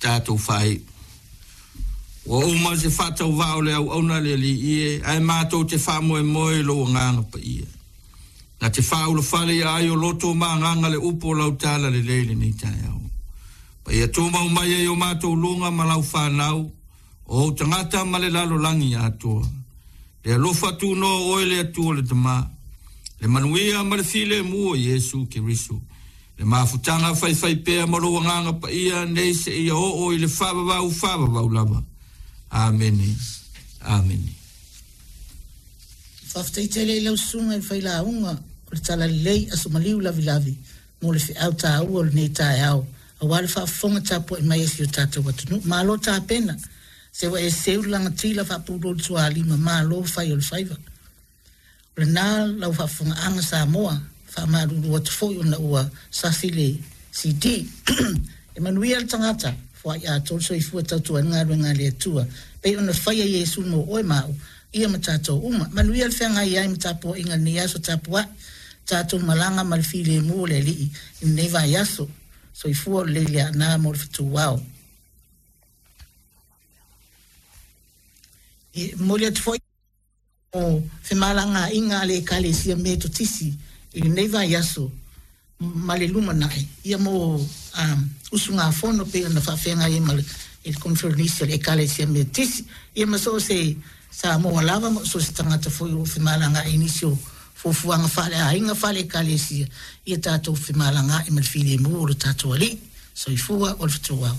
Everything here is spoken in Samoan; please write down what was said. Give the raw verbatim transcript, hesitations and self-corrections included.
Tatou faaiu. Ua uma se faatauvaa o le auauna le Alii e, ae matou te faamoemoe i lou agaga paia. Na te faaulafale ia ai o loto ma agaga le upu o lau tala lelei lenei taeao. Ma ia tumau mai ai o matou luga ma lau fanau, o ou tagata ma le lalolagi atoa. Le alofa tunoa o oe le Atua le Tama, le manuia ma le filemu o Iesu Keriso, le mafutaga faifaipea ma lou agaga paia nei seia oo i le faavavau faavavau lava. Amene. Amene. Faafetai tele i lau susuga i le failauga o le Talalelei Aso Maliu Lavilavi mo le feau taua o lenei taeao aua le faafofoga tapuai mai a si o tatou atunuu. Malo tapena, se ua e seu le lagatila faapulou le tualima, malo fai o le faiva. O lena lau faafofogaaga Samoa, faamalulu atu foi ona ua sasi le C D. E manuia le tagata, foai atoa le soifua tautua ai le galuega a le Atua, pei ona faia Iesu mo oe ma au, ia ma tatou uma. Manuia le feagai ai ma tapuaiga lenei aso tapuai, tatou malaga ma le filemu o le Alii i lenei vaiaso. Soifua o lelei le aana mo le fetuao. E momoli atu foi o femalagaaiga a le Ekalesia Metotisi i lenei vaiaso ma le lumanai, ia mo um, usugafono pei ona faafeagai ai ma le i le conference a le Ekalesia Metotisi, ia ma so o se Samoa lava ma so o se tagata foi o femalagaai i nisi o fuafuaga faaleaiga faale-ekalesia, ia tatou femalagaai ma le filemu o le tatou Alii. Soifua o le fetuao.